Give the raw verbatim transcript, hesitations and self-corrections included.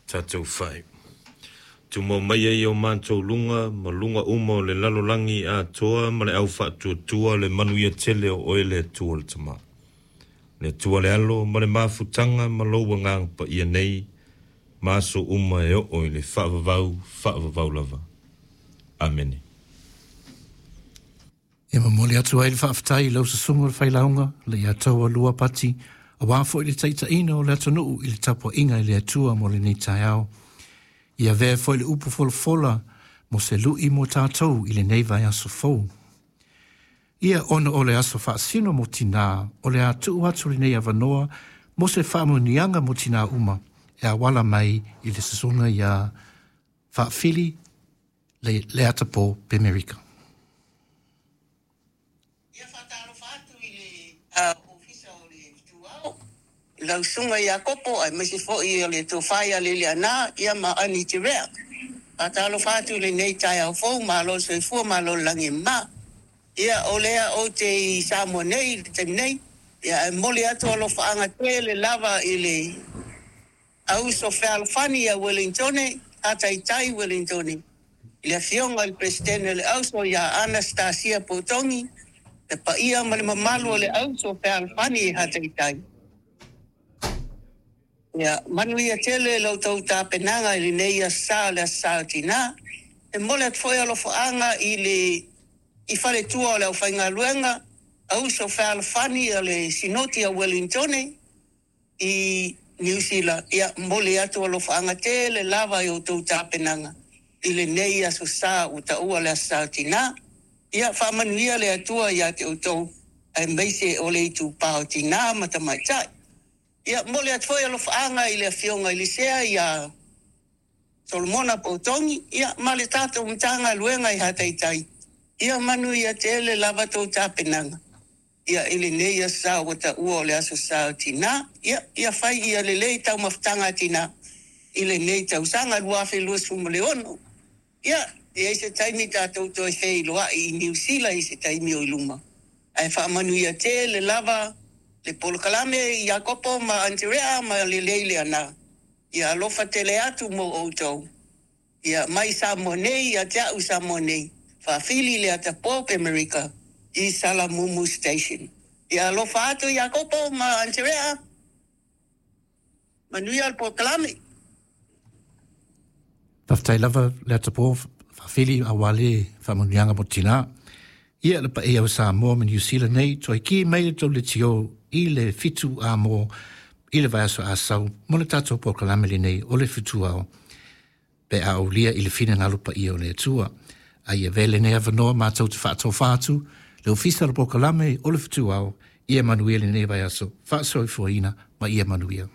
Tatou fai. Tumau mai ai o matou luga ma luga uma o le lalolagi atoa ma le au faatuatua le manuia tele o oe le Atua le Tama. Le Atua le Alo ma le mafutaga ma lou agaga paia nei, ma aso uma e oo i le faavavau, faavavau lava. Amene. E momoli atu ai le faafetai i lau susuga le failauga le Iataua Lua Pati, auā foi le taitaiina o le atunuu i le tapuaiga i le Atua mo lenei taeao. Ia avea foi le upu folafola mo se lu'i mo tatou i lenei vaiaso fou. Ia ona o le aso faasino mo tinā, o le a tuu atu lenei avanoa mo se faamanuiaga mo tinā uma e auala mai i le susuga iā Faafili le Leatapo Pemerika. Ia faatalofa atu i le Ofisa o le Fetuao, i lau Susuga Iakopo aemaise foi o le Tofa ia Liliana ia ma Ani Terea. Faatalofa atu i lenei taeao fou, malo le soifua, malo le lagi e mama. Ia o lea ou te i Samoa nei i le taimi nei, ia ae momoli atu alofaaga tele lava i le auso fealofani ia Uelintone, Hataitai Uelintone, i le afioga i le Peresetene o le Auso ia Anastasia Potogi, le paia ma le mamalu o le auso fealofani i Hataitai. Ia manuia tele la outou tapenaga i lenei aso Sa o le Aso Sa o Tinā. E momoli atu foi alofaaga i le i faletua o le aufaigaluega, auso fealofani o le Sinoti a Uelintone i Niu Sila. Ia momoli atu alofaaga tele lava i outou tapenaga i lenei aso Sa ua taua le Aso Sa o Tinā. Ia faamanuia le Atua ia te outou aemaise o le itupa o tinā ma tamaitai. Ia momoli atu foi alofaaga i le afioga i le Sea ia Solomona Potogi, ia ma le tatou Matagaluega i Hataitai. Ia manuia tele lava tou tapenaga ia i lenei aso Sa ua taua o le Aso Sa o Tinā. Ia ia fai ia lelei taumafataga a tinā i lenei tausaga lua afe luasefulu ma le ono. Ia, e i ai se taimi tatou toe feiloai i Niu Sila i se taimi o i luma. Ae faamanuia tele lava le polokalame i Iakopo ma Anterea ma Lelei Leana. Ia alofa tele atu mo outou. Ia mai Samoa nei ia te au i Samoa nei, Faafili Leatapo Pemerika i Salamumu Station. Ia alofa atu Iakopo ma Anterea. Manuia le polokalame. Faafetai lava Leatapo Faafili auā le faamanuiaga mo tinā. Ia le paia o Samoa ma Niu Sila nei, toe ki mai le tou leitio i le fitu amo i le vaiaso Asau mo le tatou polokalame lenei o le Fetuao pe a aulia i le finagalo paia o le Atua. A ia avea lenei avanoa matou te faatofa atu le ofisa o le polokalame o le Fetuao, ia manuia lenei vaiaso, faasoifuaina ma ia manuia.